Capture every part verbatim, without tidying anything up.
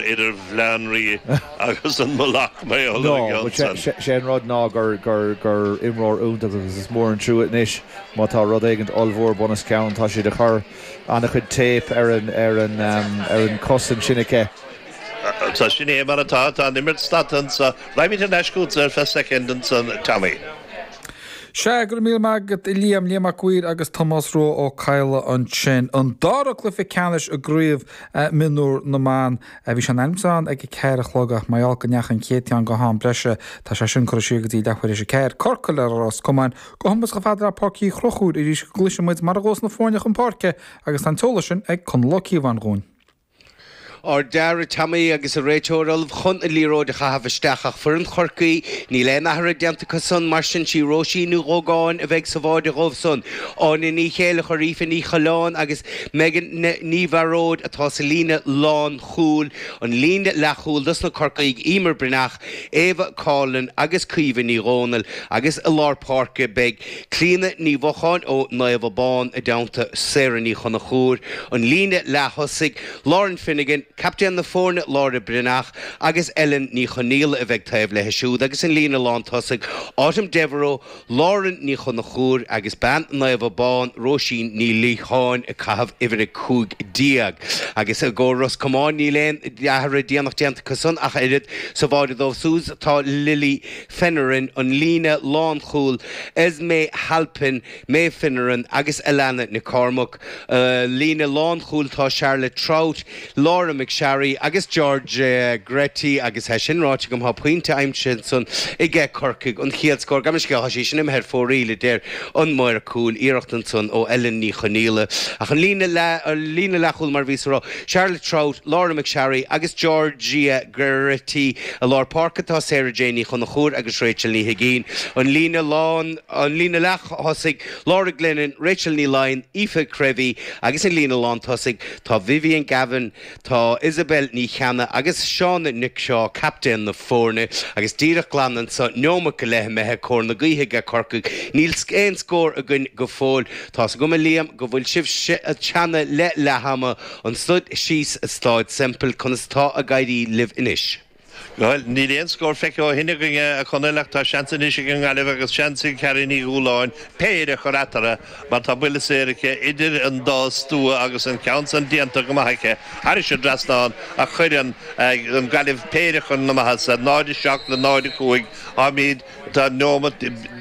Idir Bhaile an Rí agus an Mullach mé. Sé an rud ná gur gur gur imreoir iontach agus is mór an trua anois má tá rud éigin ollmhór bun os cionn. Tá siad ag cur an-chuid tape ar an ar an ar an cos ansin aici. Tá sin é mar atá. Tá an imirt stadta anseo. Raghaimid ar ais chugatsa ar feadh soicind ansan, Tommy. Sea, go raibh míle maith agat a Liam, Liam Mac Uidhir agus Tomás Rua Ó Cadhla ansin. An dara cluiche ceannais i gcraobh mionúr na mban. Bhí sé in ainm is ann ag a ceathair a chlog ach mar gheall go ndeachaigh an chéad ceann go ham breise, tá sé sin curtha siar go dtí leathuair théis a ceathair. Corcaigh le Ros Comáin. Go hiomlán chomh fada le Páirc Uí Chonchúir arís go gcloisfidh muid mar a ghabhas na foirne chun páirce agus tá an t-eolas sin ag Conall Ó Cíobháin dhúinn. Ard-fhear, a Tommy, agus an réiteoir ullamh chun an liathróid a chaitheamh isteach ach foireann Chorcaí, níl aon athrú déanta acu san, mar sin sí Róisín Ní Dhógáin a bheidh sa bháide dhóibh san. Áine Ní Chéileachair, Aoife Ní Choileáin agus Megan Ní Bhearóid atá sa líne lánchúil. An líne leathchúil dos na Corcaígh, Emer Breathnach, Eva Coughlan agus Caoimhe Ní Dhomhnaill agus i lár páirce beidh Clíona Ní Mhocháin ó Naomh Abán i dteannta Sarah Ní Chonchúir. An líne leath-thosaigh, Lauren Finnegan, captaen na foirne Laura Breathnach agus Ellen Ní Chonaola a bheidh taobh léi siúd agus an líne lántosaigh, Autumn Devereux, Lauren Ní Chonchúir agus bean Naomh Abán, Róisín Ní Liatháin ag caitheamh uimhir a cúig déag. Agus i gcomhair Ros Comáin níl aon athrú déanach déanta acu san ach oiread. Sa bháide dóibh siúd tá Lily Finneran, an líne lánchúil, Esme Halpin, Maeve Finneran agus Alana Nic Cormaic. Líne lánchúil tá Charlotte Troutt, Laura McSharry agus Georgia Geraghty agus é sin ráite agam tá pointe aimsithe ansan aige Corcaigh, an chéad scór, gabh mo leithscéal, tá sí sin imithe ar fóraoil a deir an maor cúil, iarracht ansan ó Ellen Ní Chonaola ach an líne líne leathchúil mar a bhíos a rá, Charlotte Troutt, Laura McSharry agus Georgia Geraghty. I lár páirce tá Sarah Jane Ní Chonchúir agus Rachel Ní Huigín. An líne lán, an líne leath-thosaigh, Laura Glennon, Rachel Ní Laighin, Aoife Creevy agus an líne lántosaigh tá Vivian Gavin, tá Isabel Ní Cheannaigh agus Shauna Nic Shaw, captaen na foirne. Agus díreach glan anso, neomat go leith imithe, cóir na gaoithe aige Corcaigh. Níl aon scór againn go fóill. Tá's agam a Liam go bhfuil sibh teannadh le leath ama anso síos i Stáid Semple. Conas atá ag éirí libh anois? Bhuel, níl aon scór feicthe ó shin againn, a Chonaill, ach tá seans anois ag an nGaillimh agus seans ag Carrie Ní Dhúláin péire a chur eatarthu mar tá buille saor aici idir an dá stua agus an ceann san déanta go maith aici thairis an dtrasnán ach cuireann an Ghaillimh péire chun na maitheasa, náid a seacht le náid a cúig. Táimid, tá neomat,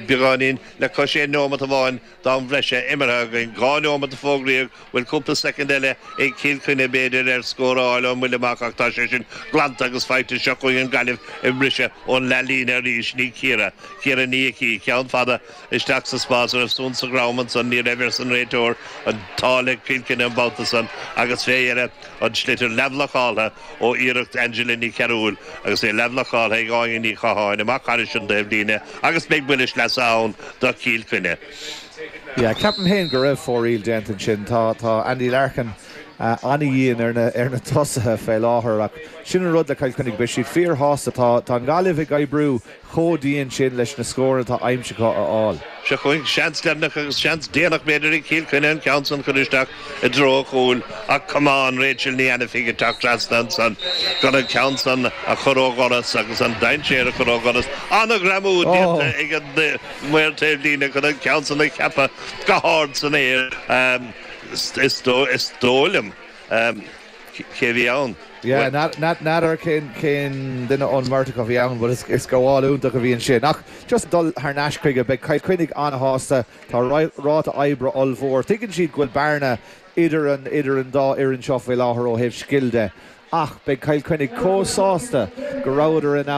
beagáinín le cois aon neomat amháin d'am bhreise imeartha againn. Dhá neomat a fógraíodh, bhfuil cúpla soicind eile ag Cill Chainnigh b'fhéidir ar scór a fháil ón mbuille amach ach tá sé sin glanta agus faighte. Seo chugainn an Ghaillimh ag briseadh ón leathlíne arís. Ní Ciara, Ciara Ní Icí, ceann fada isteach sa spás. An raibh suan sa dhrom ansan? Ní raibh, arsa an réiteoir. An t-ádh le Cill Chainnigh an babhta san agus fé dheireadh an sliotar leathbhlocáltha ó iarracht Angela Ní Chearúil agus é leathbhlocáltha ag Áine Ní Chatháin amach thairis an dtaobhlíne agus beidh buille sleasa ann do Chill Chainnigh. Yeah, ceapaim féin go raibh fóraoil déanta ansin. Tá tá Andy Larkin an-dhian ar na ar na tosaithe fé láthair ach sin an rud le Cill Chainnigh, beidh siad fíorshásta. Tá tá an Ghaillimh ag oibriú chomh dian sin leis na scóranna atá aimsithe acu a fháil. Seo chugainn seans deireanach agus seans déanach b'fhéidir ag Cill Chainnigh an ceann san chur isteach i dtreo an chúil ach camán Rachel Ní Ainifigh ag teacht trasna ansan chun an ceann san a chur ó dhoras agus an dainséar a chur ó dhoras. An-ghreamú déanta ag an maor taobhlíne chun an ceann san a cheapadh go hard san aer. Is dóigh liom cé a bhí ann. Yeah, n'fheadar cén cén duine ón mbeirt acu a bhí ann but is gabháil iontach a bhí ansin. Ach just dul thar n-ais chuige, beidh Cill Chainnigh an-shásta, tá ráta oibre ollmhór, tuigeann siad go bhfuil bearna idir an idir an dá fhoireann seo faoi láthair ó thaobh scil de. Ach beidh Cill Chainnigh chomh sásta go rabhadar in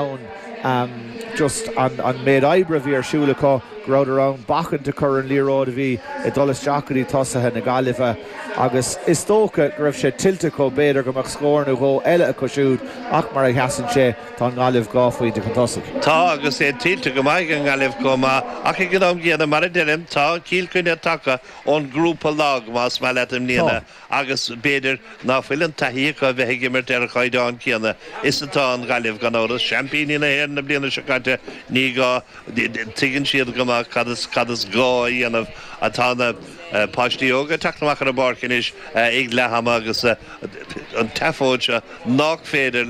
ann just an méid oibre a bhí ar siúl acu, go rabhadar in ann bacaint a chur ar an liathróid a bhí ag dul isteach go dtí tosaithe na Gaillimhe agus is dócha go raibh sé tuillte acu b'fhéidir go mbeadh scór nó dhó eile acu siúd ach mar a sheasann sé, tá an Ghaillimh dhá phointe chun tosaigh. Tá agus é tuillte go maith ag an nGaillimh chomh maith ach ag an am gcéanna, mar a deirim, tá Cill Chainnigh tagtha ón ngrúpa lag, más maith leat, i mbliana. Agus b'fhéidir ná fuil an taithí acu a bheith ag imirt ar an chaighdeán céanna is atá an Ghaillimh, gan amhras. Seaimpíní na hÉireann na bliana seo caite, ní gá, tuigeann siad go maith cad is, cad is gá a dhéanamh. Tá na páistí óga ag teacht amach ar an bpáirc anois ag leath ama agus an tseafóid seo nach féidir